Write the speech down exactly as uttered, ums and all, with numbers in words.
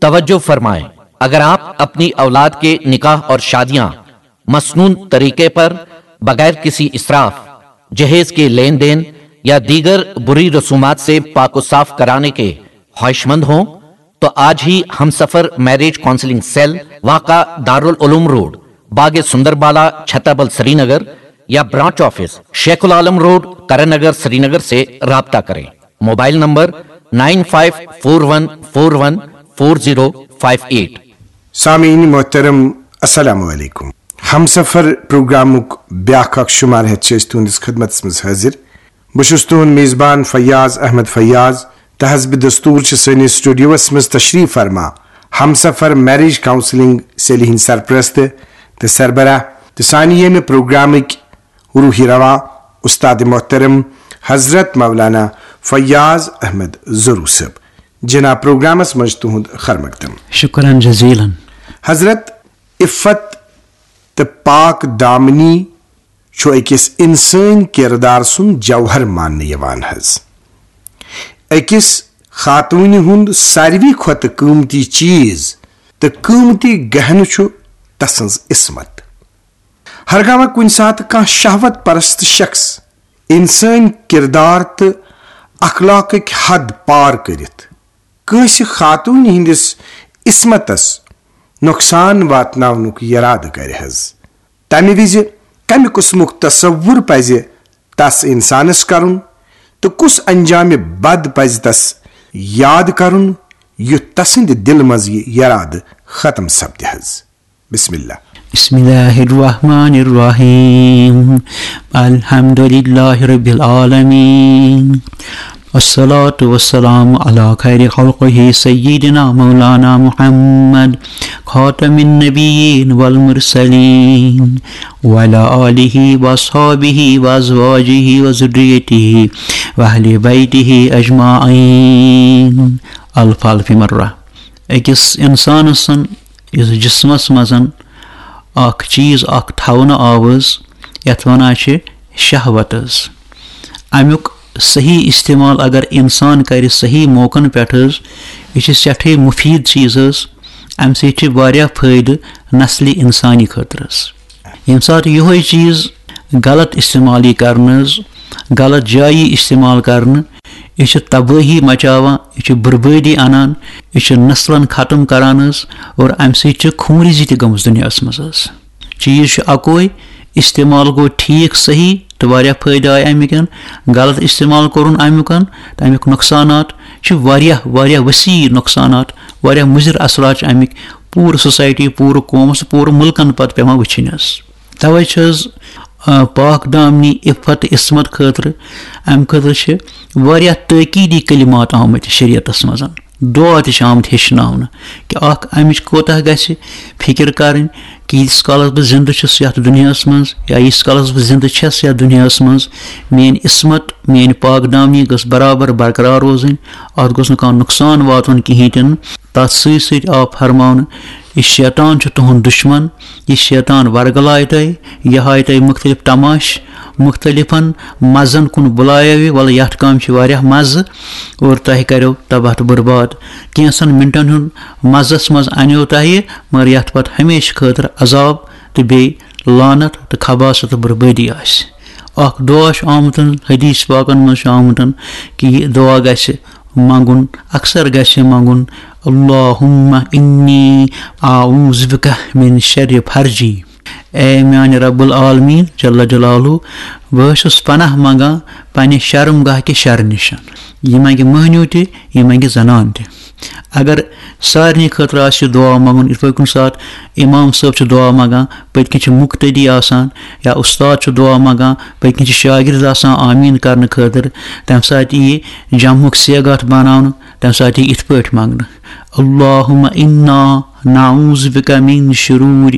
توجہ فرمائیں، اگر آپ اپنی اولاد کے نکاح اور شادیاں مسنون طریقے پر، بغیر کسی اسراف، جہیز کے لین دین یا دیگر بری رسومات سے پاک و صاف کرانے کے خواہش مند ہوں تو آج ہی ہم سفر میرج کاؤنسلنگ سیل، واقع دارالعلوم روڈ، باغ سندر بالا، چھتابل، سری نگر، یا branch office, Sheikh ul Alam road, Karan Nagar, Srinagar سے رابطہ کریں۔ Mobile number nine five four one four one four zero five eight. سامعین محترم، السلام علیکم۔ ہمسفر پروگرامک بیاکھ اکھ شمار ہیتھ چھِ أسۍ تُہنٛدِس خدمتس منٛز حٲضِر۔ بہٕ چھُس تُہنٛد میزبان فیاض احمد فیاض۔ تہٕ حسب دستور چھِ سٲنِس سٹوڈیوس منٛز تشریف فرما ہمسفر میرج کاؤنسلنگ سیلہِ ہٕنٛدۍ سرپرست تہٕ سربراہ تہٕ سانہِ ییٚمہِ پروگرامٕکۍ روحی رواں، استاد محترم حضرت مولانا فیاض احمد ضرور صٲب۔ جناب، پروگرامس منٛز چھُ تُہُنٛد خیر مقدم۔ شکرن جزیلن۔ حضرت، عفت تہٕ پاک دامنی چھُ أکِس انسٲنۍ کردار سُنٛد جوہر ماننہٕ یِوان حظ۔ أکِس خاتوٗنہِ ہُنٛد ساروی کھۄتہٕ قۭمتی چیٖز تہٕ قۭمتی گہنہٕ چھُ تسٕنٛز عصمت۔ ہرگاہ کُنہِ ساتہٕ کانٛہہ شہوت پرست شخص انسٲنۍ کردار تہٕ اخلاقٕکۍ حد پار کٔرِتھ کٲنٛسہِ خاتوٗنہِ ہٕنٛدِس عصمتس نۄقصان واتناونُک یرادٕ کرِ حظ، تمہِ وِزِ کمہِ قٕسمُک تصوُر پزِ تس انسانس کرُن تہٕ کُس انجامِ بد پزِ تس یاد کرُن، یُتھ تسٕنٛدِ دِلہٕ منٛز یہِ یرادٕ ختم سپدِ حظ؟ بسم اللہ۔ بسم الله الرحمن الرحيم. الحمد لله رب العالمين. والصلاة والسلام على خير خلقه سيدنا مولانا محمد خاتم النبيين والمرسلين وعلى آله وأصحابه وأزواجه وذريته وأهل بيته أجمعين. الف الف مرة. أکِس إنسانس یُس جسمس منٛز اکھ چیٖز اکھ تھاونہٕ آو حظ، یتھ ونان چھِ شہوت حظ۔ امیُک صحیح استعمال اگر انسان کرِ صحیح موقعن پٮ۪ٹھ حظ، یہِ چھِ سٮ۪ٹھٕے مُفیٖد چیٖز حظ۔ امہِ سۭتۍ چھِ واریاہ فٲیدٕ نسلہِ انسانی خٲطرٕ حظ۔ ییٚمہِ ساتہٕ یِہوے چیٖز غلط استعمال یی کرنہٕ حظ، غلط جایہِ یی استعمال کرنہٕ، یہِ چھِ تبٲہی مچاوان، یہِ چھِ بربٲدی انان، یہِ چھِ نسلن ختم کران حظ، اور امہِ سۭتۍ چھِ خونریزی تہِ گٔمٕژ دُنیاہس منٛز حظ۔ چیٖز چھُ اکوے، استعمال گوٚو ٹھیٖک صحیح تہٕ واریاہ فٲیدٕ آے امیُکن، غلط استعمال کوٚرُن امیُکن تہٕ امیُک نۄقصانات چھِ واریاہ، واریاہ وسیع نۄقصانات، واریاہ مُضر اثرات چھِ امِکۍ پوٗرٕ سوسایٹی، پوٗرٕ قومس، پوٗرٕ مُلکن پتہٕ پٮ۪وان وٕچھِنۍ حظ۔ توے چھِ حظ، آ، پاک دامنی عفت عصمت خٲطرٕ، امہِ خٲطرٕ چھِ واریاہ تٲکیٖدی کلمات آمٕتۍ شریعتس منٛز۔ دعا تہِ چھِ آمٕتۍ ہیٚچھناونہٕ کہِ اکھ امِچ کوتاہ گژھِ فکر کرٕنۍ کہِ ییٖتِس کالس بہٕ زندٕ چھُس یتھ دُنیاہس منٛز یا ییٖتِس کالس بہٕ زندٕ چھَس یتھ دُنیاہس منٛز، میٲنۍ عصمت، میٲنۍ پاک دامنی گٔژھ برابر برقرار روزٕنۍ، اتھ گوٚژھ نہٕ کانٛہہ نۄقصان واتُن کِہیٖنۍ تہِ نہٕ۔ تتھ سۭتۍ سۭتۍ آو فرماونہٕ، یہِ شیطان چھُ تُہُنٛد دُشمن، یہِ شیطان ورگلایہِ تۄہہِ، یہِ ہایہِ تۄہہِ مُختٔلِف تماش، مُختٔلِفن مزن کُن بُلایو یہِ، وَلہٕ یَتھ کامہِ چھِ واریاہ مزٕ اور تۄہہِ کَریو تباہ تہٕ برباد۔ کینٛژن مِنٹن ہُنٛد مزس منٛز اَنیو تۄہہِ، مگر یَتھ پتہٕ ہمیشہٕ خٲطرٕ عذاب تہٕ بیٚیہِ لعنت تہٕ خباثت تہٕ بربٲدی آسہِ۔ اکھ دعا چھُ آمُت حدیث پاکن منٛز چھُ آمُت کہِ یہِ دعا گژھِ منٛگُن، اکثر گژھِ منٛگُن، اللہم انی اعوذ بک من شر فرجی۔ اے میانہِ رب العالمین جل جلالہ، بہٕ حظ چھُس پناہ منٛگان پننہِ شرم گاہ کہِ شرٕ نِش۔ یہِ منٛگہِ مٔہنیو تہِ، یہِ منٛگہِ زنان تہِ۔ اگر سارنٕے خٲطرٕ آسہِ یہِ دعا منٛگُن، یِتھ پٲٹھۍ کُنہِ ساتہٕ امام صٲب چھُ دعا منٛگان، پٔتۍ کِنۍ چھِ مُقتدی آسان یا اُستاد چھُ دعا منٛگان، پٔتۍ کِنۍ چھِ شاگرد آسان آمیٖن کرنہٕ خٲطرٕ، تَمہِ ساتہٕ یی جمعُک صیغہ اَتھ بناونہٕ، تَمہِ ساتہٕ یی یِتھ پٲٹھۍ منٛگنہٕ، اللہم انا نعوذ بک من شرور